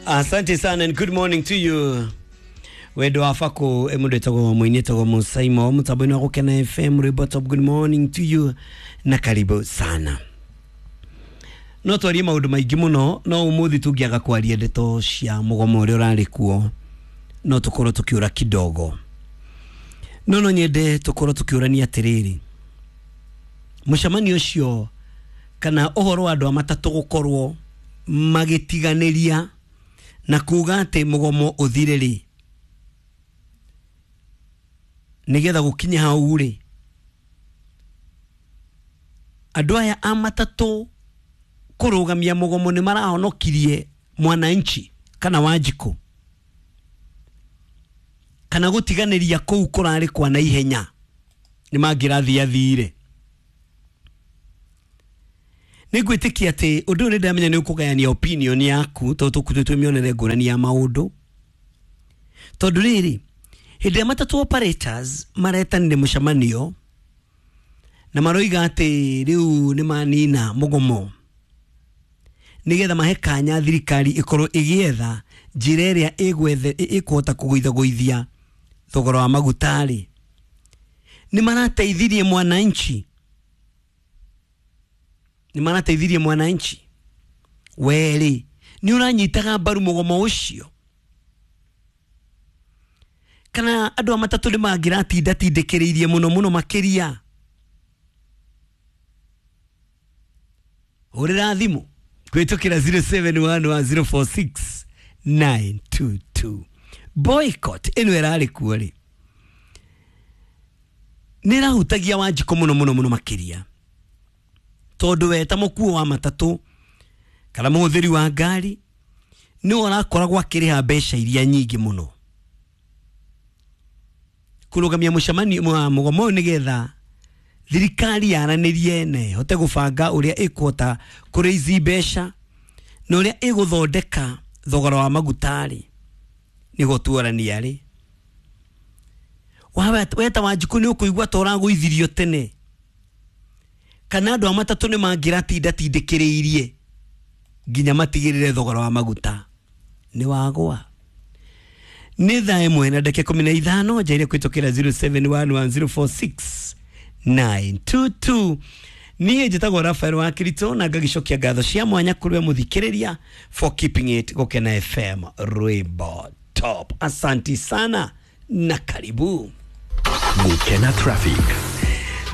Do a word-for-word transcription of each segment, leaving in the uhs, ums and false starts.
Asante sana and good morning to you. Wendo wa bako mundu etagwo muini etagwo Musaimo mutambo-inĩ wa Gũkena F M rwĩmbo top. Good morning to you na karibu sana. No twarie maũndũ maingĩ mũno, no ũmũthĩ tũngĩaga kwaria ndeto cia mũgomo ũrĩa ũrarĩ kuo no tũkorwo tũkĩũra kidogo. No no nyende tũkorwo tũkĩũrania atĩrĩrĩ, mũcemanio ũcio kana ũhoro wa andũ a matatũ gũkorwo magĩtiganĩria na kuga atĩ mũgomo ũthire rĩ, nĩgetha gũkinye hau rĩ, andũ aya a matatũ kũrũgamia mũgomo nĩ marahonokirie mwananchi kana Wanjikũ, kana gũtiganĩria kũu kũrarĩ kwa naihenya nĩ mangĩrathiathire. Nĩ ngwĩtĩkia atĩ ũndũ ũyũ nĩ ndamenya nĩ ũkũgayania opinion yaku tondũ tũkuĩte twĩ mĩonere ngũrani ya maũndũ, tondũ rĩrĩ hĩndĩ ĩrĩa matatũ operators maretanire mũcemanio na maroiga atĩ rĩu nĩ manina mũgomo nĩgetha mahe kanya thirikari ĩkorwo ĩgĩetha njĩra ĩrĩa ĩgwethe ĩkũhota kũgũithagũithia thogora wa maguta rĩ, nĩ marateithirie mwananchi, nĩ marateithirie mwananchi. Werĩ nĩ ũranyitaga mbaru mũgomo ũcio, kana andũ a matatũ nĩ mangĩratindatindĩkĩrĩirie mũno mũno makĩria? Hũrĩra thimũ kũhĩtũkĩra zero seven one one zero four six nine two two. Boycott ĩno ĩrarĩ kuo rĩ, nĩ ĩrahutagia Wanjikũ mũno mũno mũno makĩria, tondũ we ta mũkuo wa matatũ kana mũhũthĩri wa ngari nĩwe ũrakoragwo akĩrĩha mbeca iria nyingĩ mũno kũrũgamia mũcemanio mũgomo ũyũ nĩgetha thirikari yaranĩrie na ĩhote gũbanga ũrĩa ĩkũhota kũrĩici mbeca na ũrĩa ĩgũthondeka thogora wa maguta rĩ, nĩguo tuorania rĩ. Weta Wanjikũ nĩ ũkũigua ta ũragũithirio tene, kana andũ a matatũ nĩ mangĩratindatindĩkĩrĩirie nginya matigĩrĩre thogora wa maguta nĩ wagwa. Nĩ thaa ĩmwe na ndagĩka ikũmi na ithano njaire kũhĩtũkĩra zero seven one one zero four six nine two two. Niĩ njĩtagwo Raphael wa Kirito na ngagĩcokia ngatho cia mwanya kũrĩ we mũthikĩrĩria for keeping it Gũkena F M rwĩmbo top. Asanti sana na karibu. Gũkena Traffic.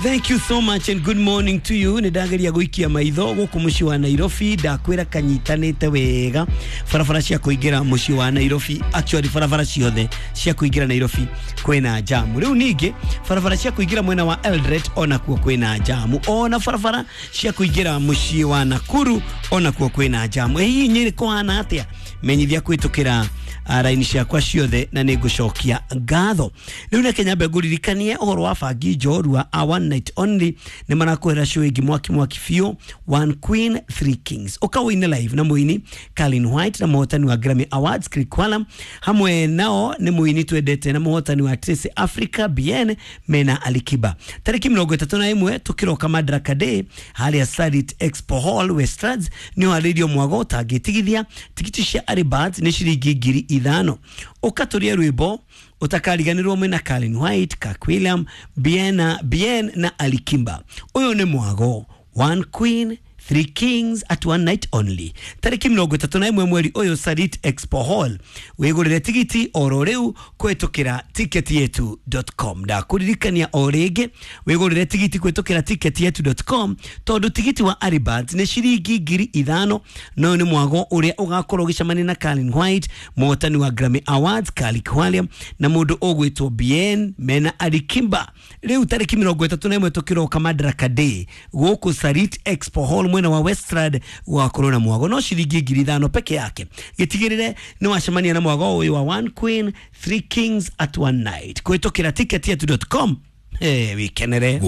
Thank you so much and good morning to you. Nĩ ndageria gũikia maitho gũkũ mũciĩ wa Nairobi, ndakwĩra kanyitanĩte wega barabara cia kũingĩra mũciĩ wa Nairobi, actually barabara ciothe cia kũingĩra Nairobi kwĩna jamu. Rĩu ningĩ barabara cia kũingĩra mwena wa Eldoret onakuo kwĩna jamu, ona barabara cia kũingĩra mũciĩ wa Nakuru onakuo kwĩna jamu. Hihi Nyĩrĩ kũhana atĩa? Menyithia kũhĩtũkĩra raini ciakwa ciothe na nĩ ngũcokia ngatho. Rĩu reke nyambe ngũririkanie ũhoro wa bangi njorua a one night only nĩ marakwĩra show ĩngĩ mwaki mwaki biũ, One Queen Three Kings. Ũka ũine live na mũini Kalin White na mũhotani wa Grammy Awards Chris Kwalam, hamwe nao nĩ mũini twendete na mũhotani wa Trace Africa B N mena Alikiba. Tarĩki mĩrongo ĩtatũ na ĩmwe tũkĩroka Madaraka Day harĩa Sarit Expo Hall Westlands nĩ harĩirio mwago ũtangĩtigithia. Tigiti cia Early Birds nĩ ciringi ngiri ithano. Ũkatũria rwĩmbo ũtakariganĩrwo mwena Kalin White, Kirk William, Bien, Bien na Alikimba. Ũyũ nĩ mwago One Queen Three Kings at one night only. Tarĩki mĩrongo ĩtatũ na ĩmwe mweri ũyũ Sarit Expo Hall. Wĩgũrĩre tigiti oro rĩu kũhĩtũkĩra ticket yetu dot com. Ndakũririkania o rĩngĩ wĩgũrĩre tigiti kũhĩtũkĩra ticket yetu dot com, tondũ tigiti wa Early Birds nĩ ciringi ngiri ithano. No nĩ mwago ũrĩa ũgakorwo ũgĩcemania na Kalin White, mũhotani wa Grammy Awards Kalik William na mũndũ ũgwĩtwo Bien mena Alikimba. Rĩu tarĩki mĩrongo ĩtatũ na ĩmwe tũkĩroka Madaraka Day gũkũ Sarit Expo Hall mwena wa Westland gwakorwo na mwago no ciringi ngiri ithano peke yake. Gĩtigĩrĩre nĩ wacemania na mwago ũyũ wa One Queen Three Kings at one night kũhĩtũkĩra ticket yetu dot com. Eh, wikenere.